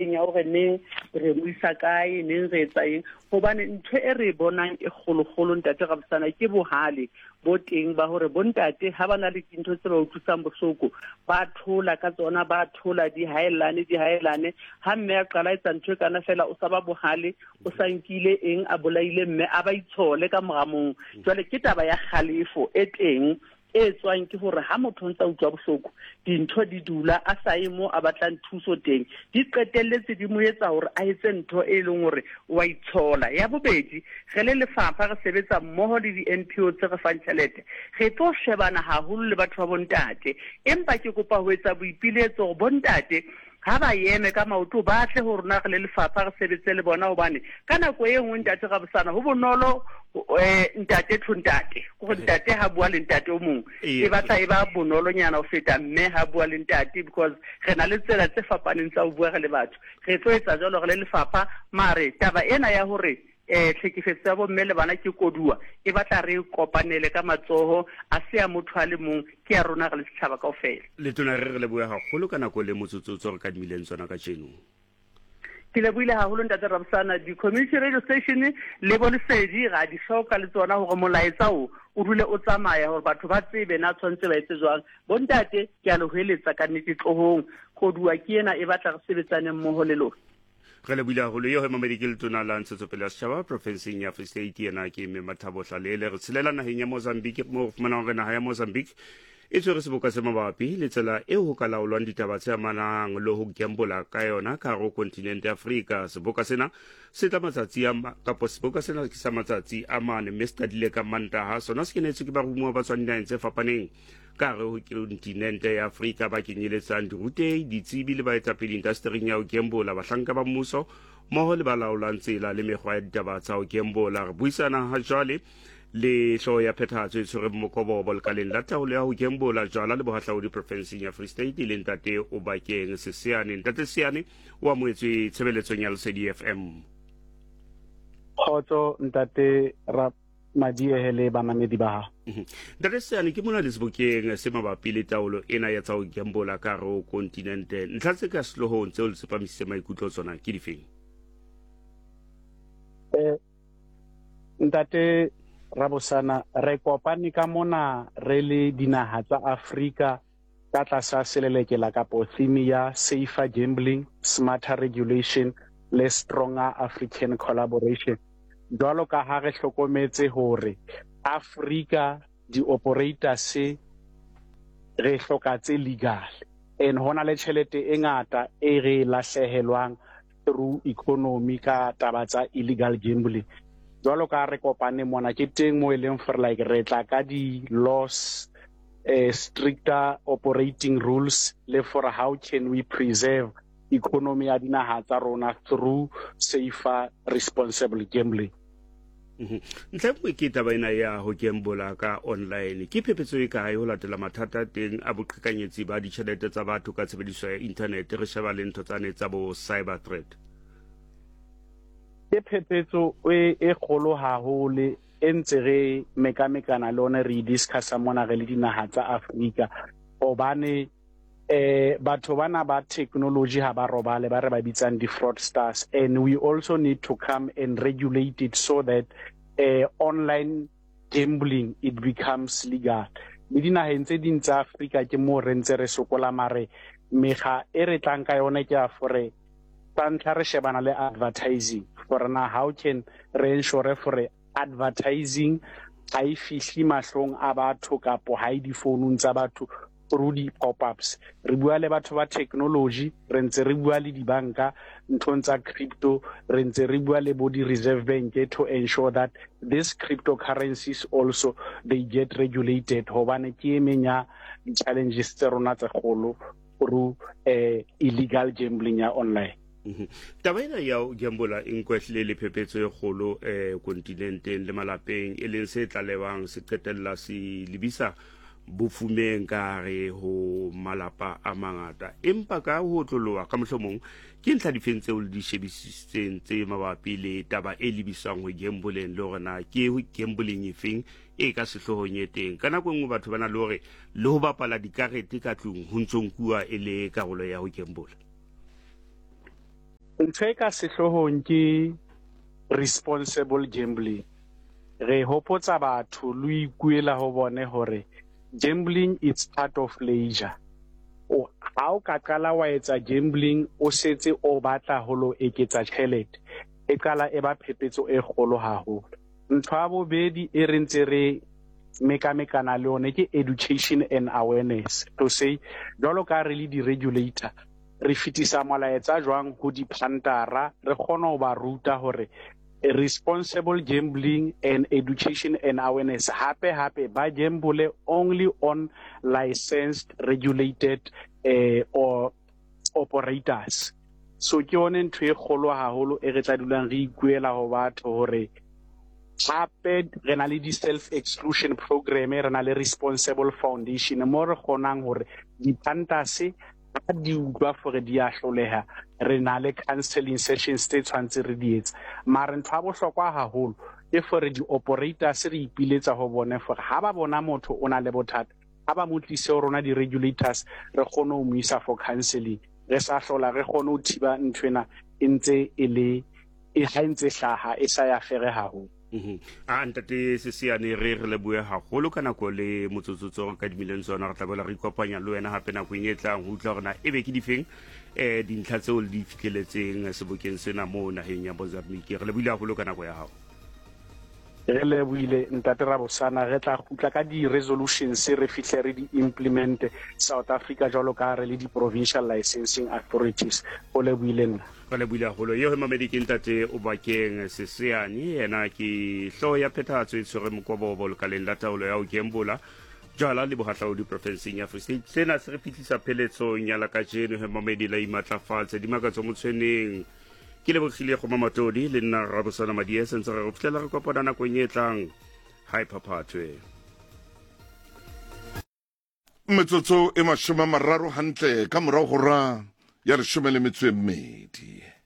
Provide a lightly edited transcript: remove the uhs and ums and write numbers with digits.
coordinating ya hore neng re mo isa kae, neng re etsa eng. Hobane ntho e re e bonang e kgolokgolo, Ntate Rabosana, ke bohale bo teng ba hore bontate ha ba na le dintho tse ba utlwisang bohloko, ba thola ka tsona, ba thola di haellane, di haellane. Ha mme a qala etsa ntho e kana fela, o sa ba bohale, o sa nkile eng, a bolaile mme, a ba itshole ka mora mong. Jwale ke taba ya kgalefo e teng e tswang ke hore ha motho o ntsa utlwa bohloko, dintho di dula a sa ye mo a batlang thuso teng, di qetelletse di mo etsa hore a etse ntho e leng hore wa itshola. Ya bobedi, re le lefapha re sebetsa mmoho le di-N_P_O tse re fang tjhelete, re tlo shebana haholo le batho ba bontate. Empa ke kopa ho etsa boipiletso hore bontate ha ba eme ka maoto, ba tle ho rona re le lefapha re sebetse le bona, hobane ka nako e nngwe, Ntate Rabosana, ho bonolo ntate to ntate, gore ntate ha bua le ntate o mongwe e batla e ba bonolonyana ho feta mme ha bua le ntate, because re na le tsela tse fapaneng tsa ho bua re le batho. Re tlo etsa jwalo re le lefapha, mare taba ena ya hore tlhekefetso ya bomme le bana ke koduwa, e batla re kopanele ka matsoho, a se ya motho a le mong, ke ya rona re le setjhaba kaofela. Letona, re re lebohe haholo ka nako le motsotso tso re kadimileng tsona kajeno. Ke lebohile haholo, Ntate Rabosana. Di-community radio station le bo Lesedi ra di hloka le tsona hore molaetsa o o dule o tsamaya, hore batho ba tsebe na tshwanetse ba etse jwang. Bontate, ke a le hweletsa ka nnete, tlohong, koduwa ke ena, e batla re sebetsaneng mmoho le lona. Re lebohile haholo. Eo mamedi ke letona la ntshetsopele ya setjhaba profenseng ya Free State, yena ke Mme Mathabo Hlalele. Re tshelela naheng ya Mozambique, moo re fumanang hore naha ya Mozambique e tshwere seboka se mabapi le tsela eo ho ka laolwang ditaba tse amanang le ho gambola ka yona ka hare ho kontinente ya Afrika. Seboka sena se tla matsatsi a kapo seboka sena ke sa matsatsi a mane, mme se qadile ka Mantaha. Sona se kenetswe ke baromuwa ba tswang dinaheng tse fapaneng ka hare ho kontinente ya Afrika, ba kenyeletsang dirutehi, ditsebi le baetapele indastering ya ho gembola, bahlanka ba mmuso mmoho le ba laolang tsela le mekgwa ya ditaba tsa ho gembola. Re buisana ha jwale le hlooho ya phethahatso e tshwereng mokobobo lekaleng la taolo ya ho gembola, jwala le bohahlaodi profenseng ya Free State, e leng Ntate Obakeng Seseane. Ntate Seseane, o amohetswe tshebeletsong ya Lesedi FM. Kgotso, Ntate Madiehe le bamamedi ba hao. Ntate Seane, ke mona le sebokeng se mabapi le taolo ena ya tsa ho gembola ka hare ho kontinente. Ntlha tse ka sehloohong tseo le tsepamisitse maikutlo tsona ke difeng? Ntate Rabosana, re kopane ka mona re le dinaha tsa Afrika ka tlasa selelekela kapo theme ya Safer Gambling, Smarter Regulation le Stronger African Collaboration. Jwalo ka ha re hlokometse hore Afrika di-operators re hloka tse legal, and hona le tjhelete e ngata e re e lahlehelwang through economy ka taba tsa illegal gambling. Jwalo ka ha re kopane mona, ke teng mo e leng for like re tla ka di-laws, stricter operating rules, le for how can we preserve economy ya dinaha tsa rona through safer responsible gambling. Ntlha e nngwe ke taba ena ya ho gambola ka online. Ke phephetso e kae ho latela mathata teng a boqhekanyetsi ba ditjhelete tsa batho ka tshebediso ya internet, re sheba le ntho tsane tsa bo cyber threat? Ke phephetso e kgolo haholo e ntse re mekamekana le one, re e discussa mona re le dinaha tsa Afrika, hobane batho bana ba technology ha ba robale, ba re ba bitsang di-fraudsters, and we also need to come and regulate it so that online gambling it becomes legal. Le dinaheng tse ding tsa Afrika ke moo re ntse re sokola, mare mekga e re tlang ka yone ke ya fore sa ntlha re shebana le advertising, gore na how can re ensure gore advertising ha e fihle mahlong a batho kapo ha e difounung tsa batho through di-pop-ups. Re bua le batho ba technology, re ntse re bua le dibanka nthong tsa crypto, re ntse re bua le bo di-Reserve Bank to ensure that these cryptocurrencies also they get regulated, hobane ke e meng ya di-challenges tse rona tse kgolo through illegal gambling ya online. Taba ena ya ho gambola e nkwehlile le phephetso e kgolo kontinenteng le malapeng, e leng se tlalewang se qetella se lebisa bofumeng ka hare ho malapa a mangata. Empa ka ho otloloha ka mohlomong, ke ntlha difeng tseo le di shebisisitseng tse mabapi le taba e lebisang ho gamboleng, le hore na ke gambling efeng e ka sehloohong e teng? Ka nako e nngwe batho ba na le hore le ho bapala dikarete ka tlung ho ntso nkuwa e le karolo ya ho gambola. Ntho e ka sehloohong ke responsible gambling. Re hopotsa batho le ho ikuela ho bone hore gambling it's part of leisure. O, ha o ka qala wa etsa gambling o setse o batla ho lo eketsa tjhelete, e qala e ba phepetso e kgolo haholo. Ntho ya bobedi e re ntse re mekamekana le yone ke education and awareness. To say, jwalo ka re le di-regulator, Re fetisa molaetsa jwang ho diphantara re kgone ho ba ruta hore responsible gambling and education and awareness hape hape ba gamble only on licensed regulated eh, or operators. So ke yone ntho e kgolo haholo e re tla dulang re ikuela ho batho hore hape re na le di-self exclusion program, re na le responsible foundation mo re kgonang hore diphantase Ha di utlwa fore di a hloleha, re na le counselling sessions tse tshwantse re di etse. Mare ntho ya bohlokwa haholo ke fore di-operators re ipiletsa ho bone fore ha ba bona motho o na le bothata, ha ba mo tlise ho rona di-regulators re kgone ho mo isa for counselling. Re sa hlola re kgone ho thiba nthwena e ntse e le ha e ntse e hlaha e sa ya fere haholo. Mhm. A ntate Sesiane re re leboe haholo ka nako le motsotso tse re kadimileng tsona re tla boela re ikopanya le wena hape nakong e tlang ho utlwa hore na ebe ke difeng um dintlha tseo le di fitlheletseng sebokeng sena moo naheng ya Mozambique. Re lebohile haholo ka nako ya hao. Re lebohile ntate Rabosana, re tla kgutla ka di-resolutions re fihle re di implement South Africa jwalo ka re le di-provincial licensing authorities. Ho lebohile nna. Re lebohile haholo. Eo he mamedi ke ntate Obakeng Seseane, yena ke hlooho ya phethahatso e tshwere mokobobo lekaleng la taolo ya ho gembola jwala le bohahlaodi profenseng ya Free State. Sena se re fihlisa pheletsong ya la kajeno he mamedi la imatlafatse dimakatso motshweneng. Ke lebogile go mamatodi le nna Rabosana Madie sentse re go fitlhela re kopana nakong e tlang. Hi phaphathwe. Metsotso e mashome a mararo hantle ka morago hora ya leshome le metso e mmedi.